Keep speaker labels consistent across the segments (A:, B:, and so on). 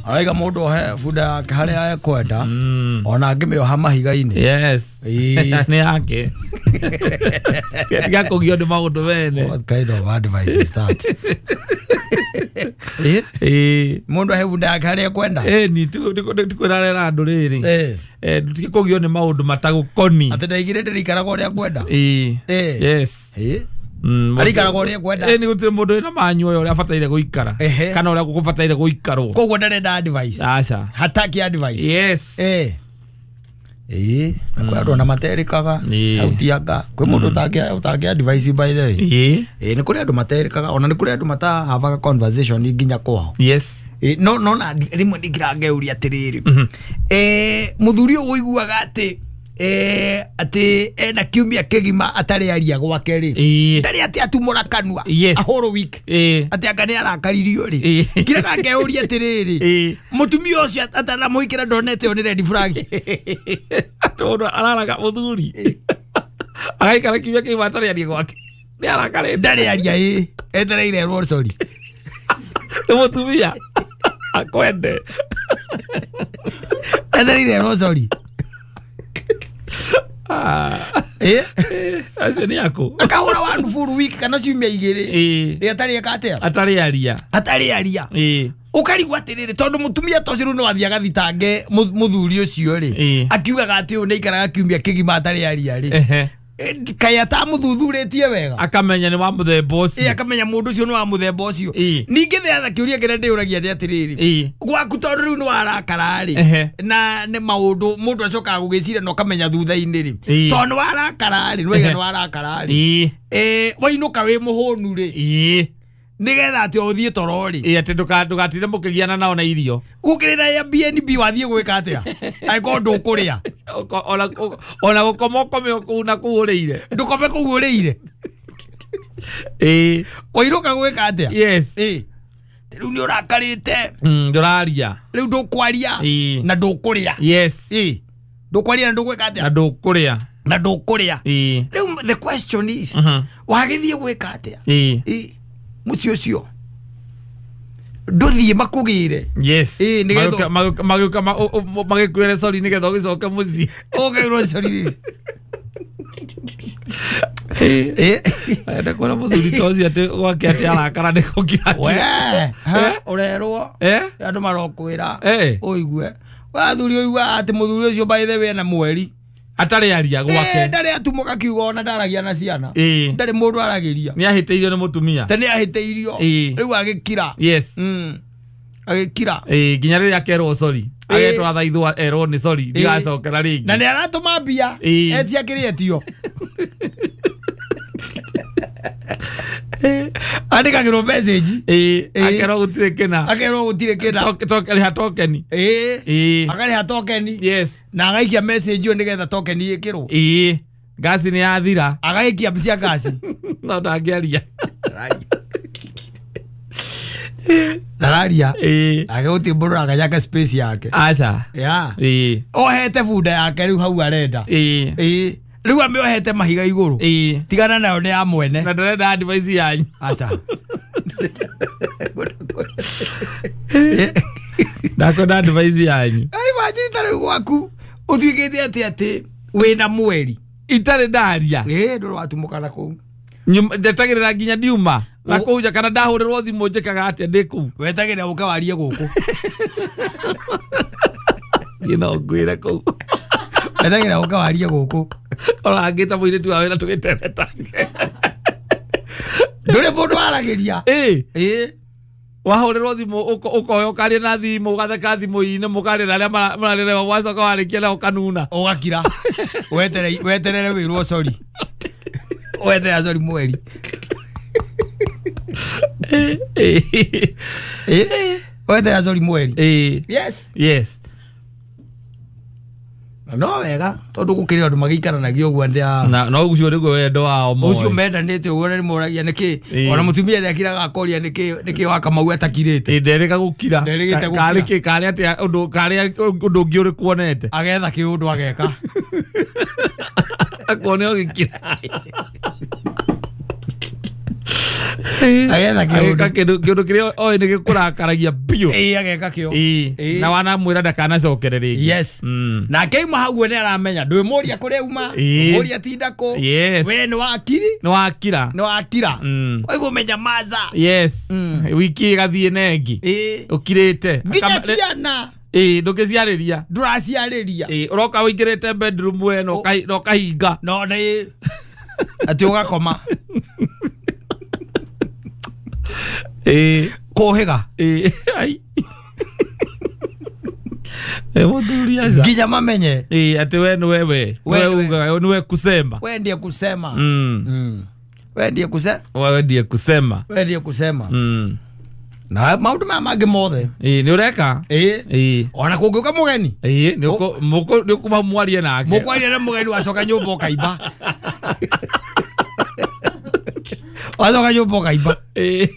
A: Araiga mũndũ ohe bunda yake harĩa ekwenda ona angĩmĩoha mahiga-inĩ.
B: Yes. Nĩ yake. Tiga kũgio nĩ maũndũ mene.
A: What kind of advice is that? Mũndũ ohe bunda yake harĩa ekwenda.
B: Ni tikwĩrarera andũ rĩrĩ. Tutige kũgio nĩ maũndũ matagũkoni.
A: Atĩ ndaigire ndĩrĩikaraga ũrĩa ngwenda.
B: Yes.
A: Arikaraga ũrĩa ngwenda.
B: Nĩ gũtirĩ mũndũ wĩna manyu ũyũ ũrĩa abataire gũikara kana ũrĩa gũbataire gũikarwo.
A: Koguo ndarenda advice.
B: Aca.
A: Hataki advice.
B: Yes.
A: Na kwĩ andũ ona materĩkaga hau tianga kwĩ mũndũ ũtangĩ advice by the way. Nĩ kũrĩ andũ materĩkaga ona nĩ kũrĩ andũ matahavaga conversation nginya kwao.
B: Yes.
A: No no na rĩmwe ndingĩrangeuria atĩrĩrĩ. Mũthuri ũyũ ũiguaga atĩ atĩ ena kiumia kĩgima atarĩ aria gwake rĩ ndarĩ atĩ atumũra kanua a whole week atĩ anga nĩ arakaririo rĩ ngiraga ngeuria atĩrĩrĩ mũtumia ũcio atanamũhikĩra ndonete ĩyo nĩ red flag.
B: Tondũ araraga mũthuri agaikara kiumia kĩgima atarĩ aria gwake nĩ arakarĩte
A: ndarĩ aria etereire erwo sorry
B: nĩ mũtumia akwende
A: etereire erwo sorry.
B: Acio nĩ aku
A: akahũra one full week kana ciumia igĩrĩ rĩ atarĩ eka atĩa
B: atarĩ aria
A: atarĩ aria ũkarigwo atĩrĩrĩ tondũ mũtumia ta ũcio rĩu nĩ wathiĩ agathitange mũthuri ũcio rĩ akiugaga atĩ ũyũ nĩ aikaraga kiumia kĩgima atarĩ aria rĩ kaĩ atamũthuthurĩtie wega
B: akamenya nĩ wa mũthemba ũcio
A: akamenya mũndũ ũcio nĩ wa mũthemba ũcio. Ningĩ the kĩũria kĩrĩa ndĩũragia nĩ atĩrĩrĩ gwaku tondũ rĩu nĩ warakara rĩ na nĩ maũndũ mũndũ acokaga gũgĩciria na ũkamenya thutha-inĩ rĩ tondũ nĩ warakara rĩ nĩwaiga nĩ warakara rĩ wainũka wĩ mũhũnu rĩ nĩgetha atĩ ũthiĩ toro rĩ
B: atĩ ndũgatinde mũkĩgiana nao na irio
A: gũkĩrĩ na Airbnb wathiĩ gwĩka atĩa angĩkorwo ndũkũrĩa
B: ona gũkoma ũkome kũu na kũu ũrĩire
A: ndũkome kũu ũrĩire wainũka gwĩka atĩa.
B: Yes.
A: Rĩu nĩ ũrakarĩte
B: ndũraria
A: rĩu ndũkwaria na ndũkũrĩa.
B: Yes.
A: Ndũkwaria na ndũgwĩka atĩa
B: na ndũkũrĩa
A: na ndũkũrĩa. Rĩu the question is wagĩthiĩ gwĩka atĩa mũciĩ ũcio ndũthiĩ makũgĩre.
B: Yes. Magĩũka magĩkwĩre sorry nĩgetha ũgĩcoke mũciĩ
A: ũkeirwo sorry.
B: Enda kuona mũthuri ta ũcio atĩ gwake atĩ arakara nĩ gũkira
A: we ũrerwo andũ marokwĩra ũigue wathuri ũiguaga atĩ mũthuri ũcio by the way ena mweri
B: atarĩ aria gwake
A: ndarĩ atumũka kiugo ona ndaragia na ciana ndarĩ mũndũ aragĩria
B: nĩ ahĩtĩirio nĩ mũtumia
A: te nĩ ahĩtĩirio rĩu agĩkira.
B: Yes.
A: Agĩkira
B: nginya rĩrĩa akerwo sorry agetwo athaithwo erwo nĩ sorry ndigacokera rĩngĩ
A: na nĩ aratũma mbia etia kĩrĩa etio andĩkagĩrwo message
B: akerwo gũtirĩ kĩna
A: akerwo gũtirĩ kĩna
B: rĩha tokeni
A: akarĩha tokeni.
B: Yes.
A: Na agaikia message ĩyo nĩgetha tokeni ĩkĩrwo
B: ngasi nĩ yathira
A: agaikia cia ngasi
B: no ndangĩaria
A: ndararia ake gũtirĩ mũndũ ũraganyanga space yake.
B: Aca.
A: Ohete bunda yake rĩu hau arenda rĩu amĩohete mahiga igũrũ tigana nayo nĩ ya mwene
B: na ndarenda advice yanyu.
A: Aca.
B: Ndakwenda advice yanyu.
A: Imagine ta rĩu gwaku ũtuĩkĩte atĩ atĩ wĩna mweri
B: itarĩ ndaria
A: ndũrĩ watumũka na kũu
B: ndetagĩrĩra nginya ndiuma na kũu nja kana ndahũrĩrwo thimũ njĩkaga atĩa ndĩ kũu
A: wetagĩrĩra ũke warie gũkũ
B: niĩ no ngwĩre kũu
A: wetagĩrĩra ũke warie gũkũ
B: ona angĩta mũirĩtu wa wĩra tũgĩteretange
A: ndũrĩ mũndũ waragĩria
B: wahũrĩrwo thimũ ũkoya ũkaria na thimũ ũgatheka thimũ-inĩ mũkaria na arĩa mararĩrewa wacoka warĩkia na ũkanuna
A: ũgakira weterere wĩrwo sorry weterere sorry mweri weterere sorry mweri. Yes.
B: Yes.
A: No wega tondu gukiri andu magiikaranagia uguo ndia
B: na no ucio niguo wendo wao moe
A: ucio mendanite uguo ni moragia niki ona mutumia ndiakiraga akoria niki wa Kamau atakirite
B: nderega gukira kari ki kari atia undu kari undu ungi uriku onete
A: agetha kiundu ageka
B: akone ogikira.
A: Agetha
B: Ageka
A: kĩũndũ.
B: kĩndũ kĩrĩa oĩ nĩ gĩkũrakaragia biũ.
A: Ĩĩ, ageka kĩo.
B: Ĩĩ.
A: Ĩĩ.
B: Na wanamwĩra ndakanacokere rĩngĩ.
A: Yes. Nake auma hau we nĩ aramenya ndwĩmũria kũrĩa uma,
B: Ĩĩ.
A: mũria tinda kũ.
B: Yes.
A: We nĩ wakiri,
B: Nĩ wakira.
A: nĩ wakira. Koguo menya maza.
B: Yes. Wiki ĩgathiĩ na ĩngĩ.
A: Ĩĩ.
B: Ũkirĩte.
A: Nginya ciana
B: Ĩĩ, ndũngĩciarĩria.
A: ndũraciarĩria.
B: Ĩĩ, ũroka ũingĩrĩte bedroom we na ũkahinga.
A: No nĩ atĩ ũgakoma.
B: Ĩĩ.
A: Kũhĩga.
B: Ĩĩ. Ai. Ĩ, mũthuri aca.
A: Nginya mamenye.
B: Ĩĩ, atĩ we nĩwe we.
A: We
B: We
A: nĩwe.
B: ugaga nĩwe kusema.
A: We ndiye kusema. We ndiye kusema.
B: Wewe ndiye kusema.
A: We ndiye kusema. Na maũndũ maya mangĩ mothe.
B: Ĩĩ, nĩ ũreka?
A: Ĩĩ.
B: Ĩĩ.
A: Ona kũngĩũka mũgeni.
B: Ĩĩ, nĩ ũkuma mwarie nake.
A: Mũkwaria na mũgeni wacoka nyũmba ũkaimba. Wacoka nyũmba ũkaimba.
B: Ĩĩ.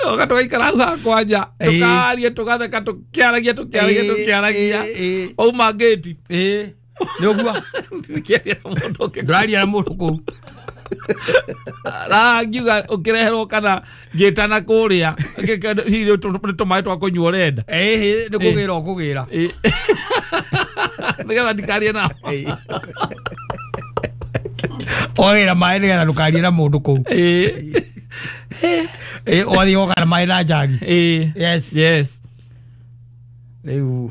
B: Oka tũgaikara hau hakwa nja.
A: Ĩĩ.
B: Tũkaria, tũgatheka, tũkĩaragia, tũkĩaragia,
A: Ĩĩ,
B: tũkĩaragia.
A: ĩĩ, ĩĩ.
B: Wauma ngĩti.
A: Ĩĩ. Nĩ ũguo.
B: Ndikĩaria na mũndũ ũngĩ.
A: Ndũraria na mũndũ kũu.
B: Na ngiuga ũkĩreherwo kana ngĩtana kũrĩa. Hihi nĩ tũmaĩ twa kũnyua ũrenda.
A: Ĩĩ, nĩ kũgĩra ũkũgĩra.
B: Ĩĩ. Nĩgetha ndikarie nao.
A: Ĩĩ. Ũgagĩra maĩ nĩgetha ndũkarie na mũndũ kũu.
B: Ĩĩ.
A: Ĩĩ, ũgathiĩ ũgoka na maĩ na njagi.
B: Ĩĩ.
A: Yes.
B: Yes.
A: Rĩu,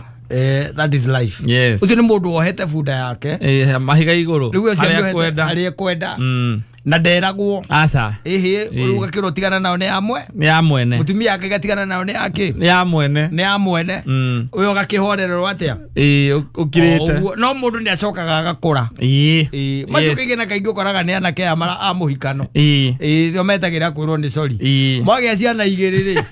A: that is life.
B: Yes.
A: Ũcio nĩ mũndũ wohete bunda yake.
B: Ĩĩ, mahiga igũrũ.
A: Rĩu ũcio
B: Harĩa
A: nĩohete
B: kwenda.
A: harĩa ekwenda. Na nderagwo.
B: Aca.
A: Ĩhĩ, rĩu ũgakĩrwo tigana nao nĩ amwe.
B: Nĩ ya mwene.
A: Mũtumia ake gatigana nao nĩ ake.
B: Nĩ ya mwene.
A: Nĩ ya mwene. Ũyũ ũgakĩhorererwo atĩa?
B: Ĩĩ, ũkirĩte.
A: Ũguo. No mũndũ nĩ acokaga agakũra.
B: Ĩĩ.
A: Ĩĩ, macio
B: Yes.
A: kaingĩ na kaingĩ ũkoraga nĩ anake aya a mũhikano.
B: Ĩĩ.
A: Ĩĩ, nĩo metagĩra kwĩrwo nĩ sorry.
B: Ĩĩ.
A: Mwagĩa ciana igĩrĩ rĩ.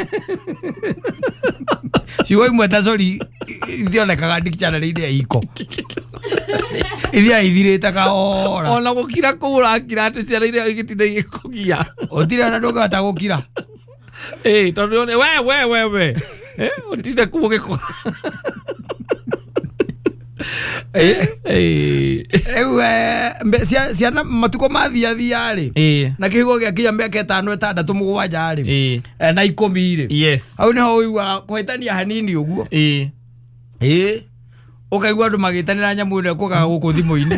A: Ciugo imwe ta sorry itionekaga dictionary-inĩ ya iko. Ithiaga ithirĩte kahora.
B: Ona gũkira kũu ũrakira atĩ ciana iria igĩtinda igĩkũgia.
A: Ũtirĩ ona ndũngĩhota gũkira.
B: Ĩĩ, tondũ nĩ we. Ũtinde kũu ũgĩkũ.
A: Ĩĩ.
B: Ĩĩ.
A: Rĩu ciana matukũ mathiathia rĩ.
B: Ĩĩ.
A: Na kĩhigo gĩakinya mĩaka 5 6 7 rĩ.
B: Ĩĩ.
A: Na 10 rĩ.
B: Yes.
A: Hau nĩho ũiguaga kũhĩtania hanini ũguo.
B: Ĩĩ.
A: Ĩĩ. Ũkaigua andũ magĩtanĩra nyamũ ĩno ĩkũgaga gũkũ thimũ-inĩ.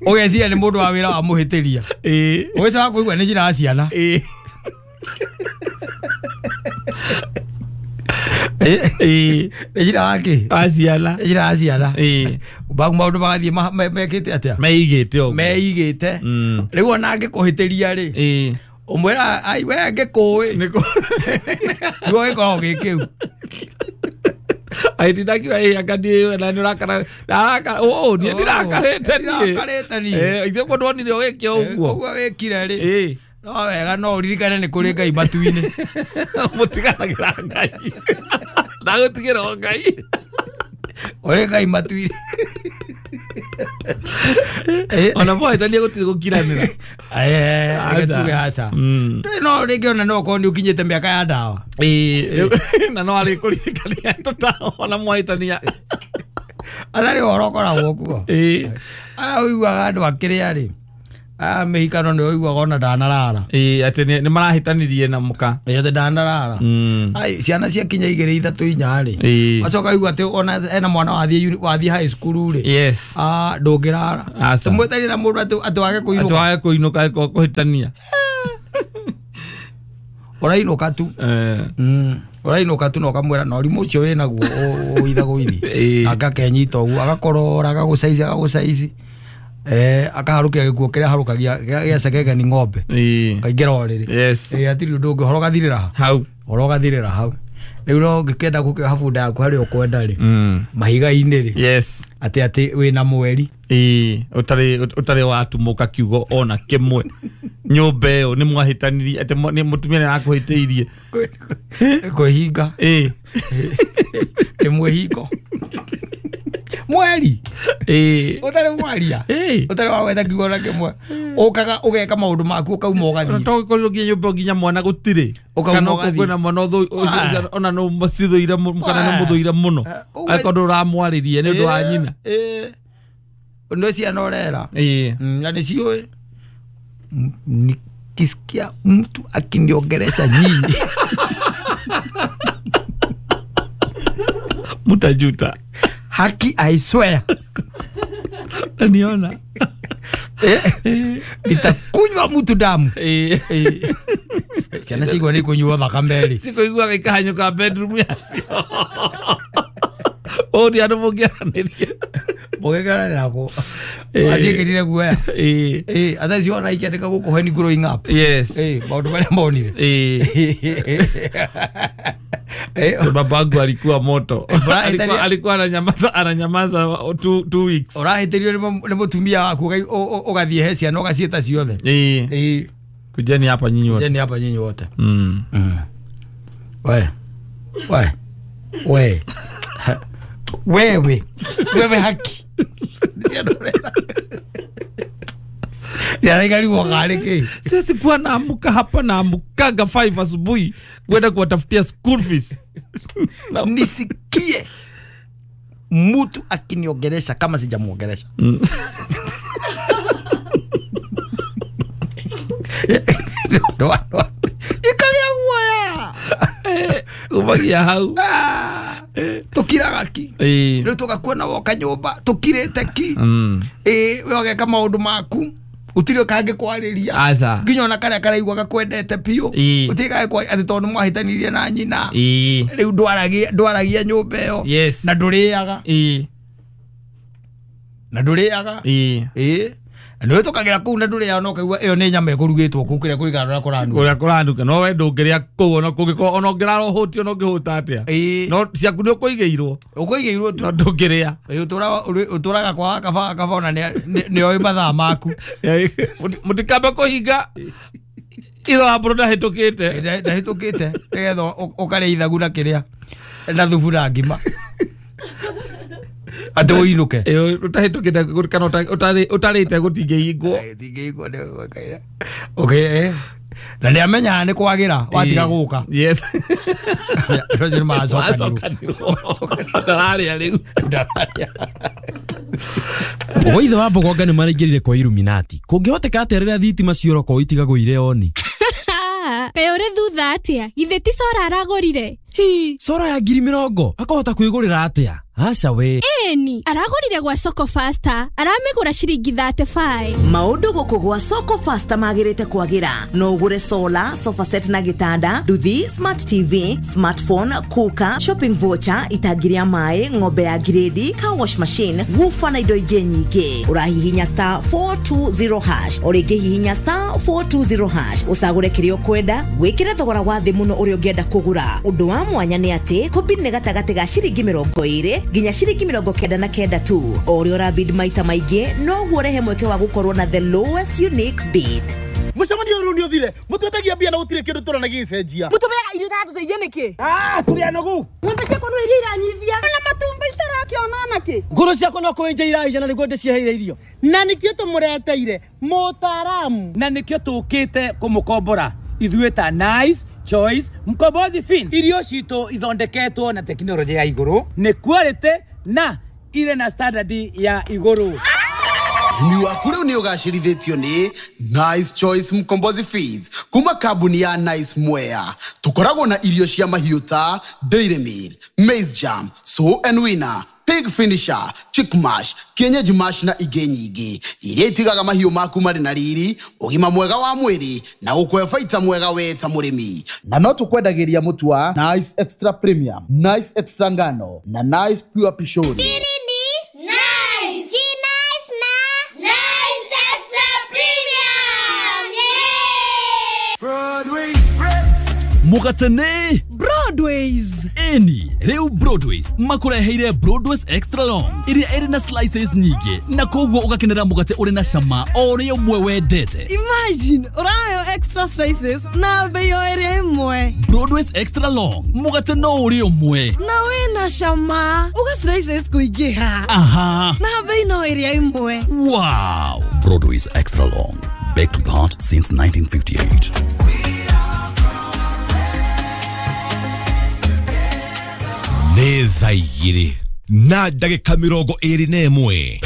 A: Ũgeciria nĩ mũndũ wa wĩra wamũhĩtĩria.
B: Ĩĩ.
A: Ũgĩcoka kũigua nĩ njĩra ya ciana.
B: Ĩĩ.
A: Ĩĩ.
B: Ĩĩ.
A: Nĩ njĩra ya kĩ?
B: Wa ciana.
A: Nĩ njĩra ya ciana.
B: Ĩĩ.
A: Maũndũ magathiĩ mekĩte atĩa?
B: Meigĩte ũguo.
A: Meigĩte. Rĩu ona angĩkũhĩtĩria rĩ.
B: Ĩĩ.
A: Ũmwĩra ai we ngĩkũĩ.
B: Nĩkũ.
A: Kiugo gĩkoragwo gĩ kĩu.
B: Ai ndindakiuga ĩĩ anga niĩ na nĩ ũrakara ndarakara ũ niĩ ndirakarĩte niĩ.
A: Ndirakarĩte niĩ.
B: Ĩĩ, ithuĩ kũ ndwonire ũgĩke ũguo.
A: Ũguo wĩkire rĩ.
B: Ĩĩ.
A: No wega no ũririkane nĩ kũrĩ Ngai matu-inĩ.
B: Mũtiganagĩra Ngai. Ndagũtigĩra o Ngai.
A: Ũrĩ Ngai matu-inĩ.
B: Ona mwahĩtania gũtirĩ gũkiranĩra.
A: Reke tuge aca. No rĩngĩ ona no ũkorwo nĩ ũkinyĩte mĩaka ya ndawa.
B: Ĩĩ, na no arĩkũririkania tũtaona mwahĩtania.
A: Atarĩ ũhoro ũkoragwo kuo.
B: Ĩĩ.
A: Aya ũiguaga andũ akĩrĩa rĩ. Aya mĩhikano nĩ ũiguaga ona ndanarara.
B: Ĩĩ, atĩ nĩ marahĩtanirie na mũka.
A: Ĩĩ, atĩ ndanarara. Ai, ciana ciakinya 2 3 4 rĩ.
B: Ĩĩ.
A: Wacoka ũigua atĩ ona ena mwana wathiĩ high school rĩ.
B: Yes.
A: Ah, ndũngĩrara.
B: Aca.
A: Tũmwĩtarie na mũndũ atĩ wage
B: Atĩ
A: kũinũka.
B: wage kũinũka ĩkorwo kũhĩtania.
A: Ũrainũka tu. Ũrainũka tu na ũkamwĩra na ũrimũ ũcio wĩnaguo ũithagũithi.
B: Ĩĩ.
A: Akakenyita ũguo agakorora agagũcaici agagũcaici. Akaharũkia gĩkuo kĩrĩa harũkagia gĩa cekeke nĩ ng'ombe.
B: Ĩĩ.
A: Kaingĩra ũrĩrĩ.
B: Yes.
A: Ĩĩ, hatirĩ ũndũ ũngĩ ũhoro ũgathirĩra ha.
B: Hau.
A: Ũhoro ũgathirĩra hau. Rĩu no ũngĩkĩenda gũkĩoha bunda yaku harĩa ũkwenda rĩ. Mahiga-inĩ rĩ.
B: Yes.
A: Atĩ wĩna mweri.
B: Ĩĩ, ũtarĩ watumũka kiugo ona kĩmwe. Nyũmba ĩyo nĩ mwahĩtanirie atĩ nĩ mũtumia nĩ arakũhĩtĩirie.
A: Kwĩhinga.
B: Ĩĩ.
A: Nĩ mwĩhingo. Mweri.
B: Ĩĩ.
A: Ũtarĩ mwaria.
B: Ĩĩ.
A: Ũtarĩ wagweta kiugo na kĩmwe. Ũkaga ũgeka maũndũ maku ũkauma ũgathiĩ.
B: To gũkorirwo nginya nyũmba nginya mwana gũtirĩ.
A: Ũkauma
B: Kana
A: ũgathiĩ.
B: kwĩna mwana ona no mũcithũire kana nĩ mũthũire mũno. Angĩkorwo ndũramwarĩria nĩ ũndũ wa nyina.
A: Ĩĩ. Nĩ ciana ũrera.
B: Ĩĩ.
A: Na nĩ ciũĩ. Nikisikia mtu akiniongelesha nyinyi
B: mtajuta.
A: Haki, I swear.
B: Niona.
A: Nitakunywa mtu damu. Ciana cigua nĩ kũnyua thakame rĩ.
B: Sikuigua gĩkahanyũka bedroom yacio. Ũũ nĩ andũ mũngĩaranĩria.
A: Mũgĩkaranĩra kũ? Aciĩkĩrire guoya. Ata ciona ikĩandĩka gũkũ when growing up.
B: Yes.
A: Maũndũ marĩa monire.
B: Babangu alikuwa moto. Alikuwa ananyamaza 2 weeks.
A: Ũrahĩtĩrio nĩ mũtumia waku ũgathiĩ he ciana ũgaciĩta ciothe.
B: Kujeni hapa nyinyi wote.
A: Kujeni hapa nyinyi wote. We. We. We. Wewe. Wewe haki.
B: Sisi kuwa naamuka hapa naamukaga 5 asubuhi kwenda kuwatafutia school fees.
A: Nisikie mtu akiniongelesha kama sijamuongelesha. Ikalia guoya.
B: Umagia hau.
A: Tukiraga ki. Rĩu tũgakuona woka nyũmba tukirĩte ki. We ũgeka maũndũ maku. Gũtirĩ kangĩkwarĩria. Nginya ona karĩa karaigua gakwendete biũ. Gũtirĩ kangĩkwarĩria atĩ tondũ nĩmwahĩtanirie na nyina. Rĩu ndwaragia nyũmba ĩyo. Na ndũrĩaga. Na ndũrĩaga. Na nĩwĩtũkagĩra kũu na ndũrĩaga no ũkaigua ĩyo nĩ nyama ĩkũrugĩtwo kũu kĩrĩa kũringana na ũrĩa kũranuka.
B: Ũrĩa kũranuka. No we ndũngĩrĩa kũu ona kũngĩkorwo ona ũngĩrara ũhũtiĩ ona ũngĩhũta atĩa. No ciaku nĩ ũkũigĩirwo.
A: Ũkũigĩirwo tu.
B: No ndũngĩrĩa.
A: Ũtũraga kwa kaba ona nĩoĩ mathaa maku.
B: Mũtikambe kũhinga ithe wa mbũrũ ndahĩtũkĩte.
A: Ndahĩtũkĩte nĩgetha ũkarĩa ithagu na kĩrĩa na thubu na ngima. Atĩ ũinũke.
B: Ũtahĩtũkĩte kana ũtarĩte gũtingĩhingwo.
A: Gũtingĩhingwo nĩ okay. Na nĩamenyaga nĩ kwagĩra watiga gũka.
B: Yes.
A: Andũ acio nĩmacokanirwo.
B: Ndararĩa rĩu.
A: Ndararĩa.
C: Oithe wa Mbogonga nĩ maraingĩrire kwa Illuminati. Kũngĩhoteka atĩa rĩrĩa thitima ciora itigagwo irĩ oni?
D: Kaĩ ũrĩ thutha atĩa? Githĩ ti cora aragũrire?
C: Hi, cora ya 20,000 akahota kwĩgũrĩra atĩa? Aca we.
D: Ĩni, aragũrire gwa Soko Faster, aramĩgũra ciringi 35.
E: Maũndũ gũkũ gwa Soko Faster magĩrĩte kwagĩra. No ũgũre solar, sofa set na gĩtanda, nduthi, smart TV, smartphone, cooker, shopping voucher, itangi rĩa maĩ, ng'ombe ya grade, car wash machine, woofer na indo ingĩ nyingĩ. Ũrahihinya star 420#, o rĩngĩ hihinya star 420# ũcagũre kĩrĩa ũkwenda, wĩkĩre thogora wa thĩ mũno ũrĩa ũngĩenda kũgũra. Ũndũ wa mwanya nĩ atĩ kũbid nĩ gatagatĩ ga ciringi 20 nginya ciringi 99 tu. O ũrĩa ũrabid maita maingĩ noguo ũrehe mweke wa gũkorwo na the lowest unique bid.
F: Mũcemanio ũyũ nĩ ũthire mũtwetagia mbia na gũtirĩ kĩndũ tũrona gĩgĩcenjia.
G: Mũtũmeaga irio itatũteithia nĩkĩ?
F: Tũrĩ anogu.
G: Ng'ombe ciakwa no iria iranyivia na matumbĩ itarakĩona nakĩ.
H: Ngũrũ ciakwa no kũenja iraija na nĩguo ndĩciheire irio.
G: Na nĩkĩo tũmũreteire mũtaaramu.
H: Na nĩkĩo tũkĩte kũmũkombora ithuĩ ta Nice Choice Mkombozi Fin. Irio citũ ithondeketwo na tekinoronjĩ ya igũrũ, nĩ quality na ire na standard ya igũrũ.
F: Ũrĩmi waku rĩu nĩ ũgacĩrithĩtio nĩ Nice Choice Mkombozi Feeds kuma kambuni ya Nice Mwea. Tũkoragwo na irio cia mahiũ ta Dairy Meal, Maize Jam, Sow and Winner, Pig Finisher, Chick Mash, Kienyeji Mash na ingĩ nyingĩ iria itigaga mahiũ maku marĩ na riri, ũgima mwega wa mwĩrĩ na gũkũhe baita mwega we ta mũrĩmi. Na no tũkwendagĩria mũtu wa Nice Extra Premium, Nice Extra Ngano na Nice Pure Pishori.
I: Nice. Nice na Nice Extra Premium. Yeah!
F: Broadway.
C: Mũgatene
G: Broadways.
C: Eni, rĩu Broadways makũreheire Broadways Extra Long iria ĩrĩ na slices nyingĩ na koguo ũgakenera mũgate ũrĩ na cama o ũrĩa ũmwe wendete.
G: Imagine ũrayo extra slices na bei o ĩrĩa ĩmwe.
C: Broadways Extra Long mũgate no ũrĩa ũmwe
G: na wĩna cama uga slices kũingĩha.
C: Aha.
G: Na bei no ĩrĩa ĩmwe.
C: Wow. Broadways Extra Long, baked with heart since 1958.
J: Nĩ thaa igĩrĩ na ndagĩka 21.